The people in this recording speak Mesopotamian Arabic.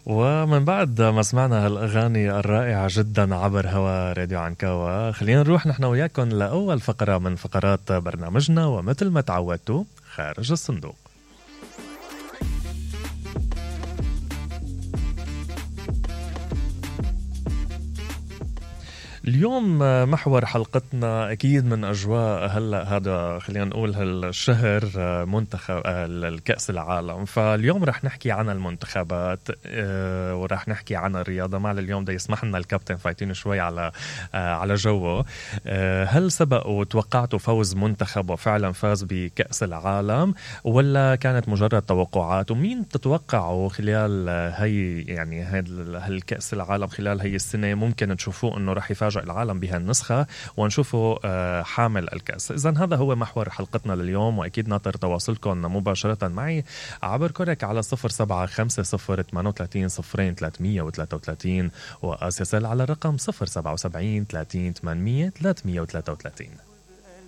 ومن بعد ما سمعنا هالأغاني الرائعة جدا عبر هوا راديو عنكاوا، خلينا نروح نحن وياكم لأول فقرة من فقرات برنامجنا، ومثل ما تعودتوا خارج الصندوق. اليوم محور حلقتنا أكيد من أجواء هلأ هذا خلينا نقول هالشهر منتخب الكأس العالم. فاليوم رح نحكي عن المنتخبات ورح نحكي عن الرياضة. مع اليوم ده يسمح لنا الكابتن فايتين شوي على جوه. هل سبق وتوقعتوا فوز منتخب وفعلا فاز بكأس العالم، ولا كانت مجرد توقعات؟ ومين تتوقعوا خلال هاي يعني هالكأس العالم خلال هاي السنة ممكن تشوفوه انه رح يفاجئ العالم بهالنسخة ونشوفه حامل الكأس؟ إذن هذا هو محور حلقتنا لليوم، وأكيد ناطر تواصلكم مباشرة معي عبر كورك على 0750-30-0333 وأسيسل على الرقم 077-30-800-333.